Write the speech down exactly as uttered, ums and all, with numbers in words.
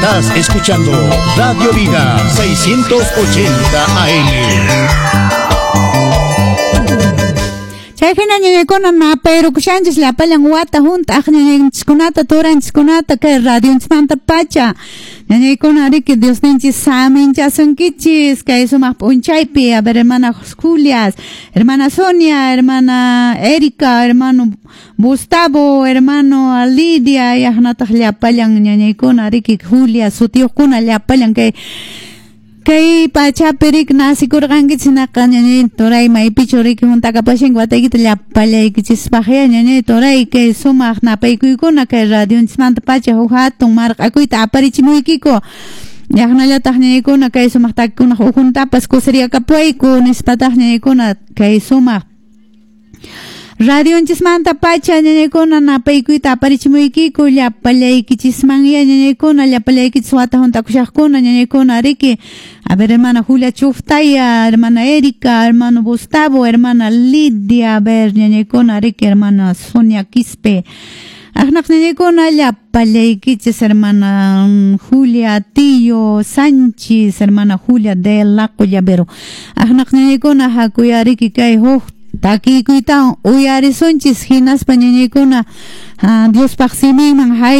Estás escuchando Radio Vida seiscientos ochenta A M. Chay hina ñañaykuna napayrukushanchis llapallan wata hunt'aq ñañanchiskunata turanchiskunata kay radionchismanta pacha. Ñañaykuna riki Diosninchis saminchasunkichis kay sumaq p'unchaypi. A ver, hermana Julia, hermana Sonia, hermana Erika, hermano Gustavo, hermano Lidia, yaqnataq llapallan ñañaykuna riki Julia sutiyuqkuna llapallan kay kay pachapi riki nasikurqankichis hinaqa ñañay turay maypichu riki huntakapashanki wataykita llapallaykichispaqya ñañay turay kay sumaq napaykuykuna kay radionchismanta pacha huk hatun marq'akuyta aparichimuykiku yaqnallataq ñañaykuna kay sumaq takikunaq ukhuntapas kusiriyakapuwayku nispataq ñañaykuna kay sumaq radionchismanta pacha ñañaykuna napaykuyta aparichimuykiku llapallaykichismanya ñañaykuna llapallaykichis wata huntakushaqkuna ñañaykuna riki. A ver, hermana Julia Chuftaya, hermana Erika, hermano Gustavo, hermana Lidia, a ver, ñañaykuna riki, hermana Sonia Quispe. Aqnaq ñañaykuna llapallaykichis, hermana Julia Tillo Sánchez, hermana Julia de la Collavero. Aqnaq ñañaykuna hakuyariki kay huk takikuytawan uyarisunchis hinaspa ñañaykuna Diospaq siminman hay